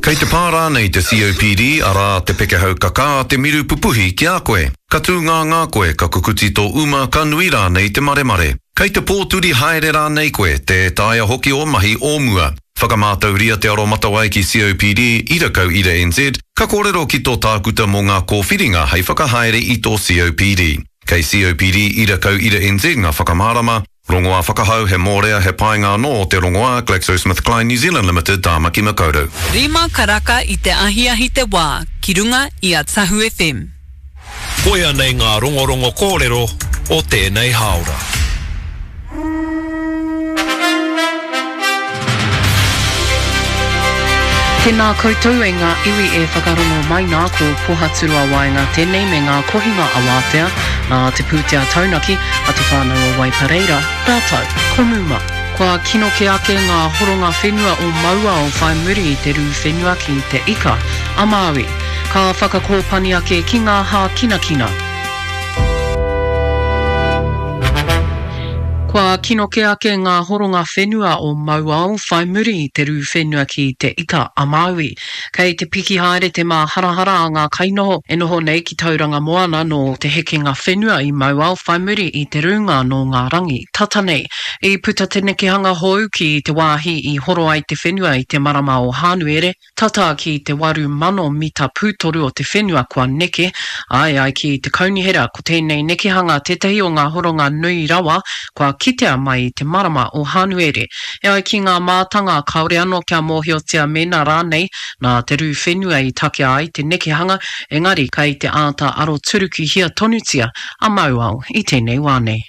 Kei te pā rānei te COPD, arā, te pekehau kakā, te miru pupuhi ki a koe? Ka tūngāngā koe, ka kukuti tō uma, ka nui rānei te maremare? Kei te pōturi haere rānei koe, tē taea hoki ō mahi o mua? Whakamātauria te aromatawai ki COPD, ira kau ira NZ, ka kōrero ki tō tākuta mō ngā kōwhiringa hei whakahaere i tō COPD. Kei COPD ira kau ira NZ ngā whakamārama, Rongoā whakahau, he mōrea, he painga anō o te rongoā, GlaxoSmithKline New Zealand Limited, Tāmaki Makaurau. Rima karaka i te ahiahi te wā ki runga i a Tahu FM. Koia nei ngā rongorongo kōrero o tēnei hāora. Tēnā koutou e ngā iwi e whakarongo mai nā, ko Pohaturoa Waenga tēnei me ngā kohinga awātea nā te pūtea taunaki a Te Whānau o Waipareira rātou ko Muma. Kua kino kē ake ngā horonga whenua o Mauao whai muri i te rū whenua ki Te Ika a Māui. Ka whakakōpani ake ki ngā hākinakina. Kua kino kē ake ngā horonga whenua o Mauao whai muri i te rū whenua ki Te Ika a Māui. Kei te piki haere te māharahara a ngā kainoho e noho nei ki Tauranga Moana nō te hekenga whenua i Mauao whai muri i te rūnga nō ngā rangi tata nei. I puta te nekehanga hou ki te wāhi i horo ai te whenua i te marama o Hānuere, Tata ki te 8,000 mita pūtoru o te whenua kua neke, ā, e ai ki te kaunihera, ko tēnei nekehanga tētahi o ngā horonga nui rawa kua kitea mai i te marama o Hānuere. E ai ki ngā mātanga, kāore anō kia mōhiotia mēnā rānei nā te rū whenua i takea ai te nekehanga, engari kei te āta aroturukihia tonutia a Mauao i tēnei wā nei.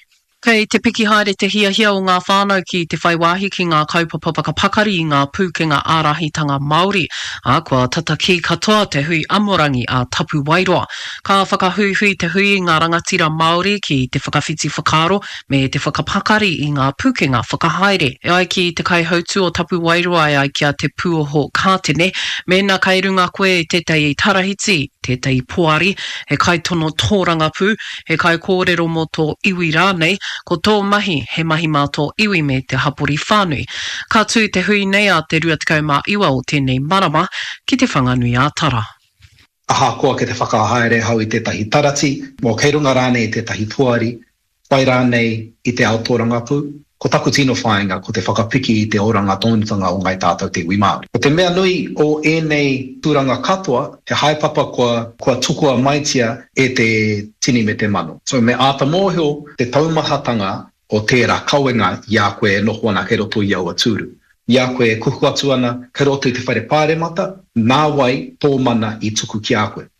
Kei te piki haere te hiahia o ngā whānau ki te whai wāhi ki ngā kaupapa whakapakari i ngā pūkenga ārahitanga Māori, ā, kua tata kī katoa te hui amorangi a Tapuwaeroa. Ka whakahuihui te hui i ngā rangatira Māori ki te whakawhiti whakaaro me te whakapakari i ngā pūkenga whakahaere. E ai ki te kaihautū o Tapuwaeroa e ai ki a Te Pūoho Kātene, mēnā kei runga koe i tētahi tarahiti, tētahi poari, he kaitono tōrangapū, he kaikōrero mō tō iwi rānei, ko tō mahi he mahi mā tō iwi me te hapori whānui. Ka tū te hui nei a te 29 o tēnei marama ki Te Whanganui-ā-Tara. Ahakoa kei te whakahaere ahau i tētahi tarati, mō kei runga rānei i tētahi poari, whai rānei i te ao tōrangapū, ko taku tino whāinga ko te whakapiki i te oranga tonutanga o Ngāi Tātou te iwi Māori. Ko te mea nui o ēnei tūranga katoa, he haepapa kua, kua tukua maitia e te tini me te mano. So me āta mōhio te taumahatanga o tērā kawenga i a koe e noho ana kei roto i aua tūru. I a koe e kuhu atu ana kei roto i te whare pāremata, nā wai tō mana i tuku ki a koe?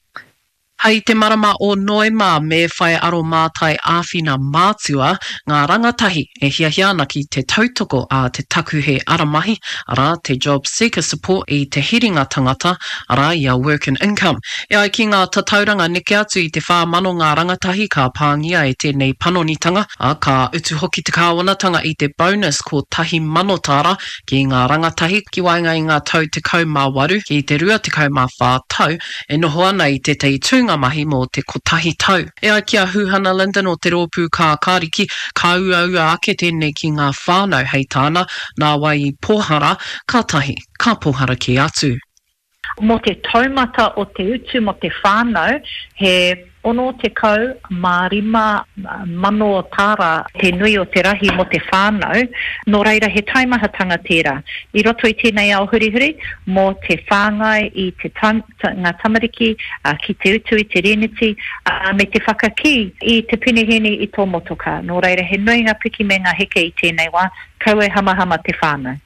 Hei te marama o Noema me whai aromātai āwhina mātua ngā rangatahi e hiahia ana ki te tautoko a te takuhe aramahi, arā, te Job Seeker Support i te hiringa tangata, arā, i a Work and Income. E ai ki ngā tatauranga neke atu i te 4,000 ngā rangatahi ka pāngia e tēnei panonitanga, ā, ka utu hoki te kāwanatanga i te bonus 1,000 tāra ki ngā rangatahi ki waenga i ngā tau 18 ki te 24 tau e noho ana i tētahi tūnga mahi mō te kotahi tau. E ai ki a Huhana Lyndon o te Rōpū Kākāriki, ka uaua ake tēnei ki ngā whānau, hei tāna, nā wai i pōhara, kātahi ka pōhara kē atu. Mō te taumata o te utu mō te whānau, he 65 mano tāra te nui o te rahi mō te whānau, nō reira he taimahatanga tērā. I roto i tēnei ao hurihuri, mō te whāngai i te ngā tamariki, ki te utu i te rēneti, me te whakakī i te penehēni i tō motokā. Nō reira he nui ngā piki me ngā heke i tēnei wā, kaua e hamahama te whānau.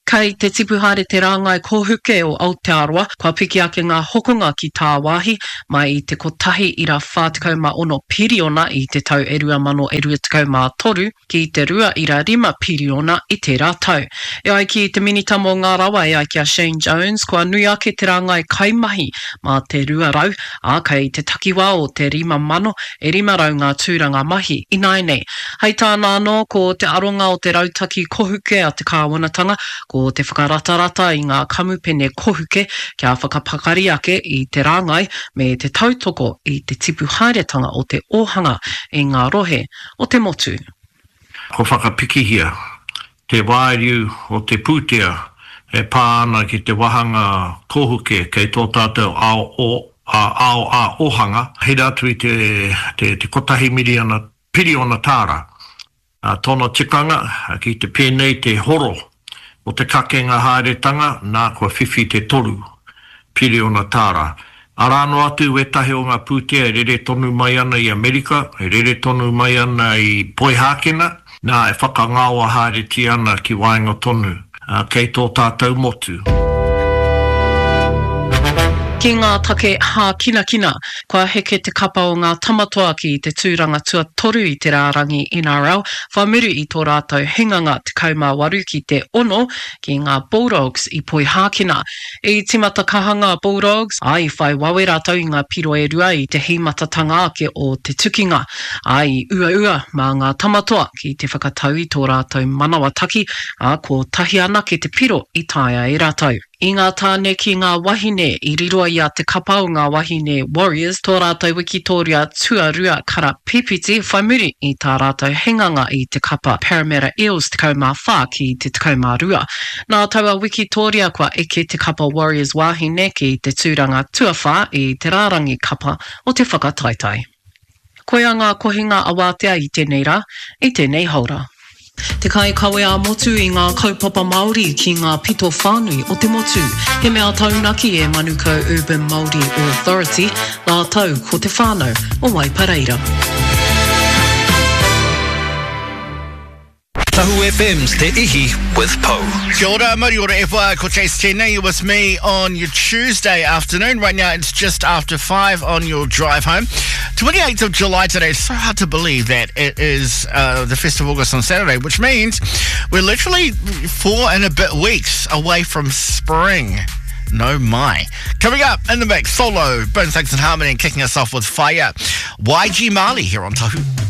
Kei te tipu haere te rāngai kōhuke o Aotearoa, kua piki ake ngā hokonga ki tāwāhi, mai i te 1.46 piriona i te tau e 2023 ki te 2.5 piriona i tērā tau. E ai ki te Minita mō ngā Rawa e ai ki a Shane Jones, kua nui ake te rāngai kaimahi mā te 200, ā, kei te takiwā o te 5,000 e 500 ngā tūranga mahi ināianei. Hei tāna anō, ko te aronga o te rautaki kohuke a te kāwanatanga, ko te whakaratarata i ngā kamupene kohuke kia whakapakari ake i te rāngai me te tautoko i te tipu haeretanga o te ōhanga i ngā rohe o te motu. Kua whakapikihia te wāriu o te pūtea. e pā ana ki te wāhanga kōhuke kei tō tātou ao o, ao ā-ōhanga, hira atu i te, te, te kotahi miriana, piriona tāra. Ā, tōna tikanga, ki te pēnei te horo o te kakenga haeretanga, nā kua whiwhi te toru piriona tāra. Arā noa atu wētahi o ngā pūtea e rere tonu mai ana i Amerika, e rere tonu mai ana i Poihākena, nā, e whakangaoa haeretia ana ki waenga tonu, ā, kei tō tātou motu. Ki ngā take hākinakina, kua heke te kapa o ngā Tamatoa ki te tūranga tuatoru i te rārangi NRL, whai muri i tō rātou hinganga 18 ki te ono ki ngā Bulldogs i Poihākena. I tīmata kaha ngā Bulldogs, ā, i whai wawe rātou i ngā piro e rua i te hīmatatanga ake o te tukinga, ā, i uaua mā ngā Tamatoa ki te whakatau i tō rātou manawataki, ā, kotahi anake te piro i taea e rātou. I ngā tāne ki ngā wahine, i riro i a Te Kapa o ngā Wahine Warriors tō rātou wikitōria tuarua karapipiti whai muri i tā rātou hinganga i te kapa Parramatta Eels 14 ki te 12. Nā taua wikitōria kua eke te kapa Warriors wāhine ki te tūranga tuawhā i te rārangi kapa o te whakataetae. Koia ngā kohinga awātea i tēnei rā, i tēnei haora. Te kaikawe ā-motu i ngā kaupapa Māori ki ngā pito whānui o te motu. He mea taunaki e Manukau Urban Māori Authority rātou ko te whānau o Waipareira. Tahu FM's Te Ihi with Pou. Kia ora, mauri ora e wha, ko Chase tēnei, you're with me on your Tuesday afternoon. Right now it's just after 5 on your drive home. 28th of July today, it's so hard to believe that it is uh, the 1st of August on Saturday, which means we're literally four and a bit weeks away from spring. No my. Coming up in the mix, solo, Bone Thugs and Harmony, and kicking us off with Fire. YG Marley here on Tahu.